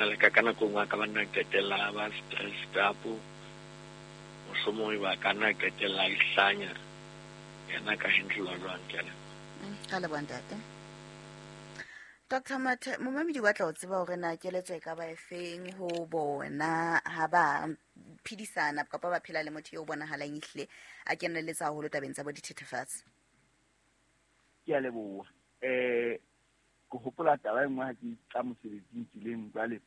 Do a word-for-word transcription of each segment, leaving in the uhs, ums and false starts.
Le ka ka nako nngwe a ka ba nna qetella ba stressed up, mohlomong ba ka nna qetella a ihlanya, yena ka handle jwang? Ke a leboha. Mm, ka leboha ntate Doctor Mathe. Momamedi wa tla o tseba hore na keletso e ka ba efeng ho bona ha ba phedisana kapa ba phela le motho eo bonahalang ehlile a kenelletsa haholo tabeng tsa bo dithethefatsi. Ke a leboha. um ke hopola taba e nngwe ha ke tla mosebetsing tseleng. Jwale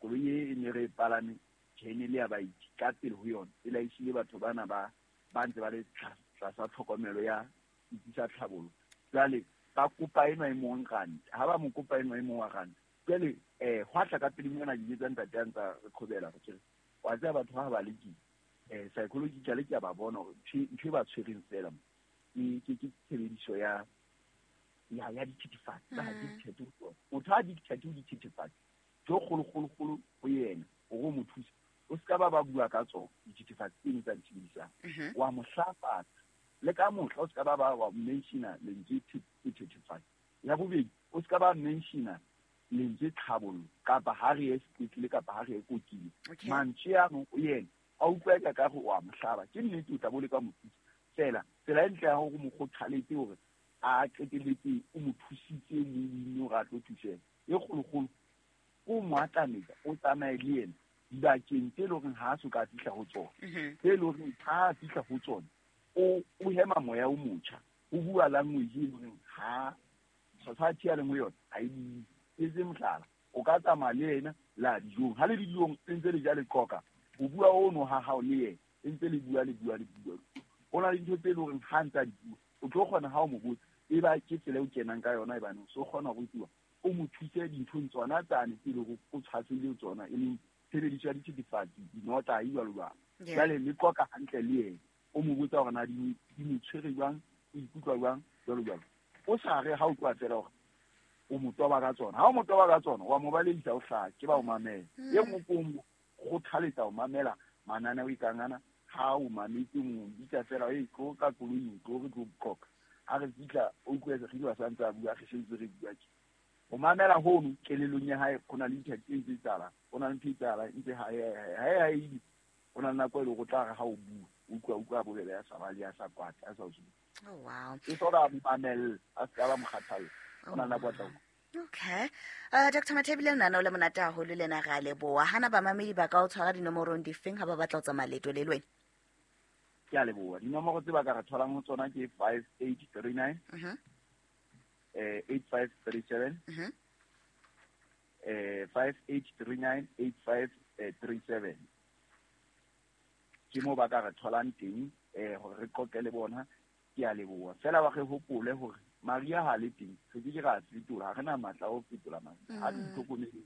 koloi e e ne re e palame jene le ya baeti ka pele ho yona e laishile batho bana ba ba ntse ba le tlasa tlhokomelo ya setsi sa tlhabollo. Jwale ba kopa enwa e mong ranta, ha ba mo kopa enwa e mong wa ranta. Jwale um hwa tla ka pele mona ke jetsa ntate a ntsa re qhobela re ke wa tseba batho ha ba le ke um psychologically ke a ba bona hore ntho e ba tshwereng fela ke ke ke tshebediso ya ya ya dithethefatsi. Ba addicted ho tsona. Motho a addicted ho dithethefatsi, ntho e kgolo kgolo kgolo ho yena hore o mo thuse, o se ka ba ba bua ka tsona dithethefatsi tseno tsa di sebedisang, wa mo hlafatsa le ka mohla o se ka ba ba wa mentiona lentswe sethethefatsi. Ya bobedi, o se ka ba mentiona lentswe tlhabollo kapa ha re ye sepetlele kapa ha re ye kokile. Mantswe ano o yena a utlwa eka ka re o a mo hlaba. Ke nnete o tla bo le ka mo thusa fela. Tsela e ntle ya hore o mo kgothaletse hore a qetelletse o mo thusitse mo hore a tlo thuseha e kgolokgolo, o mo atametsa, o tsamaye le yena dibakeng tse leng hore ha a so ka fihla ho tsona, tse leng hore ha a fihla ho tsona o o hema moya o motjha, o bua language e leng hore ha society ya leng ho yona ha e bue. Etse mohlala, o ka tsamaya le yena la dijong, ha le dijong e ntse le ja le qoqa, o bua ono ha hao le yena e ntse le bua le bua le bua. Ho na le dintho tse leng hore ha ntse a di bua o tlo kgona ha o mo botsa e ba ke tsela eo kenang ka yona, ebane o so kgona ho rutiwa, o mo thuse dinthong tsona tsane tse leng hore o tshwasehile tsona, e leng tshebediso ya dithethefatsi, dinotahi, jwalo jwalo. Jwale le qoqa hantle le yena, o mo botsa hore na di mo tshwere jwang, o ikutlwa jwang, jwalo jwalo. O sa re ha o tloha fela hore o mo toba ka tsona. Ha o mo toba ka tsona, wa mo balehisa o hlaha, ke ba o mamela. E nngwe ke o mo kgothaletsa ho mamela mananeo e kang ana. Ha o mametse mo bitsa fela, e tlo ka koloing, tlo re tlo qoqa. Ha re fihla o utlwe re ile ba ntse a bua, re sentse re bua tje. O mamela hono kelellong ya hae, ho na le ntho e ntse etsahalang, ho na le ntho e etsahalang ntse ha ha ha e ho na le nako e leng hore o tla re ha o bua, o utlwa utlwa bobebe ya sa ba le ya sa kwata, ya sa o tsube. Oh wow. E soka mo mamella, a se ka ba mo kgathalla. Ho na le nako a tla utlwa. Okay. Uh, Doctor Mathebile, nna o le monate haholo le na re a leboha. Hana bamamedi ba ka o tshwara dinomorong difeng ha ba batla ho tsamaya leeto le le wena? Ke a leboha. Dinomoro tse ba ka re tholang ho tsona ke five eight three nine, Mhm. eh, eight five three seven, Mhm. eh, five eight three nine, eight five, eh, three seven. Ke moo ba ka re tholang teng, eh, hore re qoqe le bona. Ke a leboha. Fela ba re hopole hore Maria ha le teng, re ke ke ra fetola, ha re na matla a ho fetola Maria. Ha re Mm. itlhokomeleng.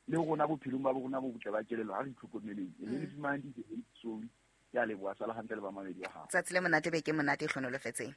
Le rona bophelong ba rona bo botle ba kelello, ha re itlhokomeleng. E le Mm. le fumane di-sorry. Ke a leboha, sala hantle le bamamedi ba hao. Tsatsi le monate, beke monate e hlohonolofetseng.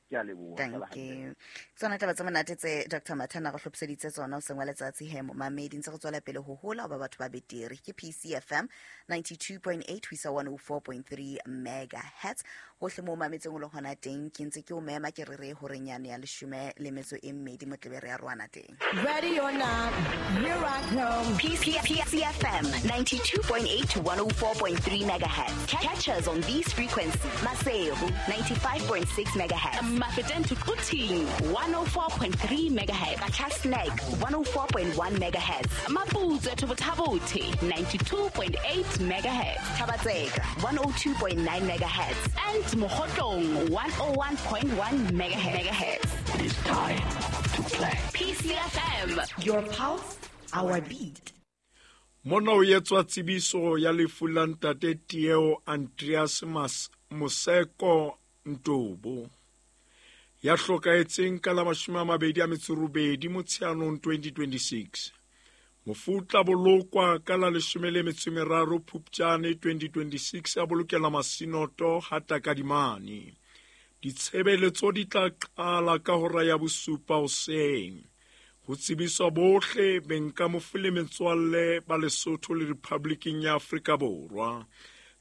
Ke a leboha, Thank sala hantle. you. Tsona taba tse monate tse Doctor Mathana re hlophiseditse tsona hoseng wa letsatsi he momamedi, ntse re tswela pele ho hola ho ba batho ba betere. Ke P C F M ninety-two point eight ho isa one oh four point three megahertz. Hohle moo mametseng o le hona teng, ke ntse ke o mema ke re re horeng yane ya leshome le metso e mmedi motlebe re ya rwana teng. Ready or not, here I come. P C F M ninety-two point eight to one oh four point three megahertz. Catch us on these frequencies. Maseru ninety-five point six megahertz. Mafeteng to Quthing one oh four point three megahertz. Qacha's Nek one oh four point one megahertz. Maputswe to Botha-Bothe ninety-two point eight megahertz. Thaba-Tseka one oh two point nine megahertz. And Mokhotlong one oh one point one megahertz. It is time to play. P C F M. Your pulse, our beat. Mona o etswa tsebiso ya lefu la ntate Tieo Andreas Mas Moseko Ntobo, ya hlokahetseng ka la mashome a mabedi a metso robedi Motsheanong twenty twenty-six. Mofu o tla bolokwa ka la leshome le metso e meraro Phupjane twenty twenty-six, a bolokela Masinoto ha Takadimane. Ditshebeletso di tla qala ka hora ya bosupa hoseng. Ho tsebiswa bohle beng ka mofu le metswalle ba Lesotho le Republiking ya Afrika Borwa.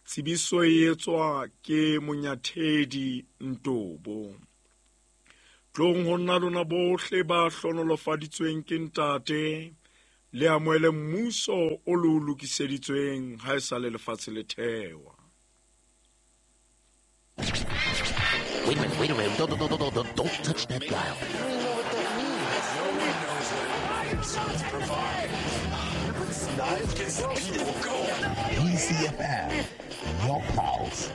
Tsebiso e etswa ke Monyathedi Ntobo. Tlong ho nna lona bohle ba hlohonolofaditsweng ke Ntate, Le amohele mmuso o le o lokiseditsweng ha e sa le lefatshe le thewa. Wait a minute, wait a minute. Don't, don't, don't, don't, don't touch that dial. P C F M, your pulse.